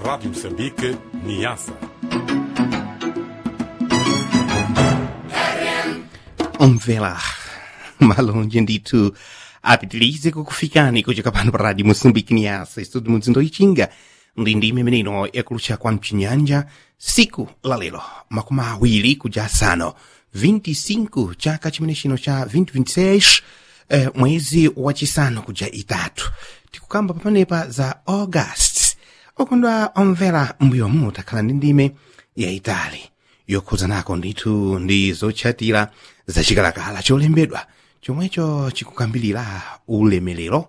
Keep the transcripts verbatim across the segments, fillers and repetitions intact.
Rádio Moçambique, Niassa. Omvela malonje ndithu apitilize kukufikani kuchoka pano pa Radio Moçambique Niassa, estudo mudzindo ichinga ndi ndime imeneno yakulutcha kwa mchinyanja siku la lero makumi awiri kuja asanu vinte e cinco chaka chimene chino cha twenty twenty-six, eh, mwezi wachisanu kuja itatu, tikukamba pamenepa za August. Okondwa omvera, mbuyomu takhala ndi ndime yayitali yokhuzanako ndithu ndi zotchatira zachikalakala cholembedwa chomwecho chikukambilira ulemerero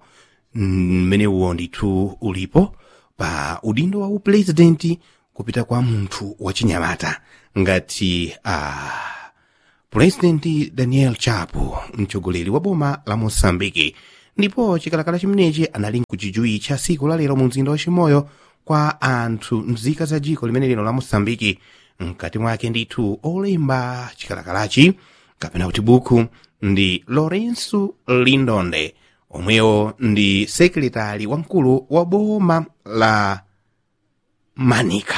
mmenewo ndithu ulipo pa udindo wa upurezidenti kupita kwa munthu wachinyamata ngati uh, purezidenti Daniel Chapo, mtsogoleri wa boma la Moçambike. Ndipo chikalakala chimenechi anali nkuchijuwitcha siku la lero mu mzinda wa Chimoyo kwa anthu mzika za dziko limene lino la Moçambike. Mkati mwake ndithu olemba chikalakalachi kapena kuti buku ndi Lourenço Lindonde, omwewo ndi sekretari wamkulu wa boma la Manika.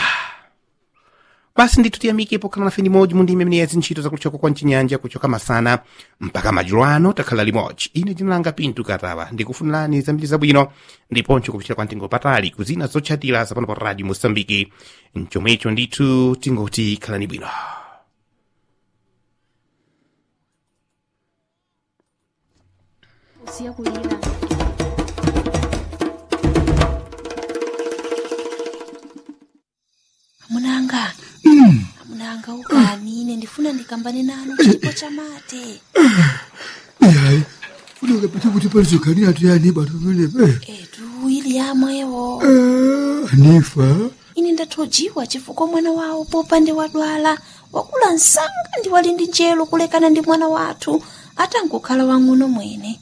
Basi ndithu tiyamike pokhala nafe limodzi mu ndime imene ya zintchito zakulutchako kwa mchinyanja, kuchoka masana mpaka madzulo ano takhala limodzi. Ine dzina langa Pintu Katawa, ndikufunirani zambiri zabwino ndiponso kupitira kwa mtengo patali kuzina zotchatira zapano pa Radio Moçambike. Mchomwecho ndithu tingoti khalani bwino. Usiya kulira. Amunanga, amunanga, ukani, ine ndifuna ndikambane nanu chipo chamate. Ihayi, funeka phethe ukuthi palizogani yathu yani batomelebe. Etu ili yamwewo. Anifa. Ine ndathojiwa chifukwa mwana wawo popande wadwala wakula msanga ndi wali ndi njelo kulekana ndi mwana wathu atangokhala wang'ono mwene.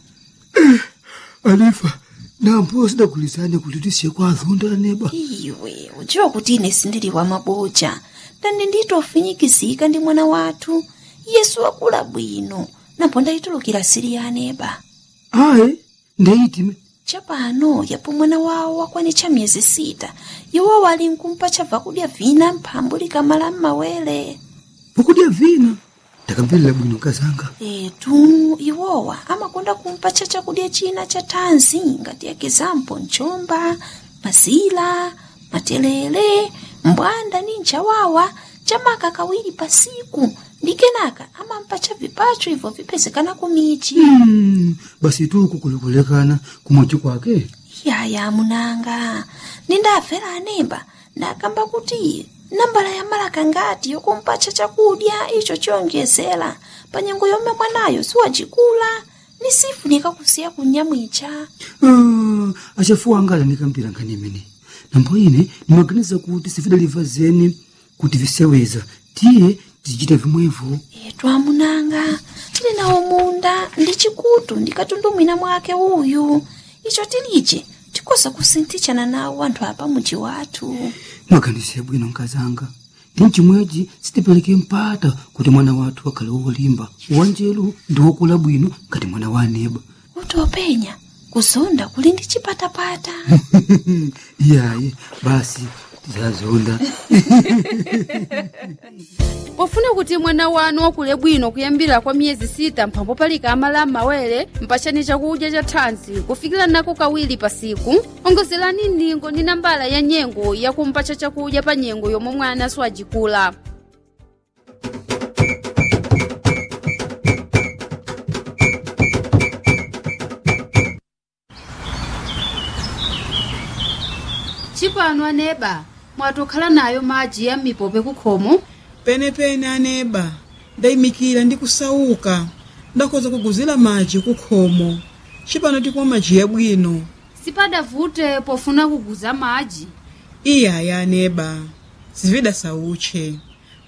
Anifa, nampo sidagulizane kuti tisiye kwa azonda neba. Iwe udziwa kuti ine sindili wa maboja ndani nditofinyikizika ndi mwana wathu Yesu wakula bwino napo ndayitulukira sili ya aneba. Ayi, ndeyitime. Chapano yapo mwana wawo wakwanitcha miyezi sita, iwo wali nkumpa chabva kudya vina mphambu likamala m'mawere. Pokudya vina? Ndakamverera bwino kazanga. Etu iwowa amakonda kumpatcha chakudya china cha thanzi ngati ekizampo mchomba, mazila, matelele, mbwanda ni nchawawa chamaka kawiri pasiku, ndi kenaka amampatcha vipacho ibvo vipezekana kumichi. Mm, basi tuku kulikulekana kumochi kwake. Yaya munanga, nindafera anemba ndakamba kuti nambala ya malaka ngati yokumpatcha chakudya icho chiyonjezera pa nyengo yomwe mwanayo siwacikula ni sifunika kusiya kunyamwicha. Ah, achafuwa anga anikambira nkhani imene nambo ine nimaganiza kuti sifidaliva zeni kuti viseweza, tiye tizichita vimwevo. Etu amunanga, tili nawo munda ndi chikutu ndi katundu mwina mwake uyu, icho tilije tikoza kusinthitshana nawo anthu apa muji wathu. Mwaganize bwino nkazanga, ndi chimwechi sitipereke mpata kuti mwana wathu akhale wolimba, wanjelu ndi wokula bwino ngati mwana wa aneba. Kuti openya kuzonda kuli ndi chipatapata. Iyayi, basi tizazonda. Pofuna kuti mwana wanu wakule bwino kuyambira kwa miyezi sita mphambo palika amala m'mawere, mpachani chakudya cha thanzi kufikira nako kawiri pasiku, ongozerani ndingo ndi nambala ya nyengo yakumpatcha chakudya pa nyengo yomwe mwana siwajikula. Chipano aneba mwatokhala nayo madzi ya m'mipope kukhomo. Penepene aneba, ndayimikira ndi kusauka, ndakhoza kuguzira madzi kukhomo. Cipano tikumwa madzi yabwino. Sipadavute pofuna kuguza madzi. Iyaya aneba, zividasauche.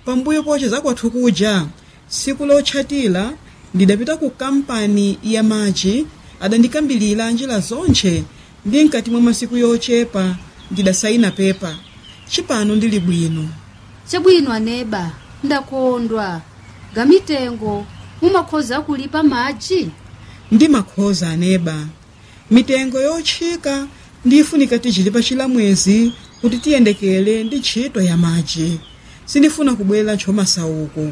Pambuyo poche zakwathu kuja siku lotchatira ndidapita ku kampani ya madzi, adandikambilira njira zonche ndi mkati mwa masiku yochepa ndidasaina pepa. Cipano ndili bwino. Chabwino aneba, ndakondwa. Gamitengo mumakhoza kulipa madzi? Ndi makhoza aneba, mitengo yotchika. Ndifunika tichilipa chilamwezi kuti tiyendekele ndi ntchito ya madzi. Sindifuna kubwera ntchomasauko.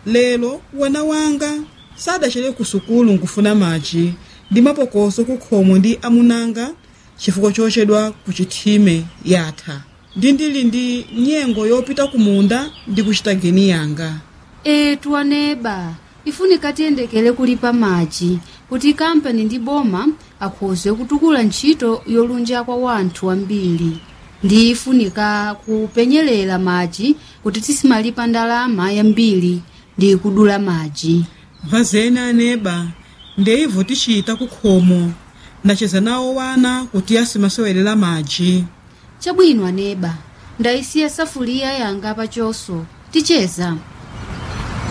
Lero wana wanga sadachere ku sukulu nkufuna madzi ndi mapokoso kukhomo ndi amunanga chifukwa chochedwa ku chithime yatha. Ndi ndili ndi nyengo yopita kumunda ndi kuchita geni yanga. Etu aneba, ifunika tiyendekele kulipa madzi kuti kampani ndi boma akhoze kutukula ntchito yolunja kwa wanthu ambiri. Ndi ifunika kupenyerera madzi kuti tisimalipa ndalama yambiri ndi kudula madzi. Vazeni aneba, ndeivo tichita kukhomo. Ndacheza nawo wana kuti asimasewelera madzi. Chabwino aneba, ndayisiya safuliya yanga pachoso, ticheza.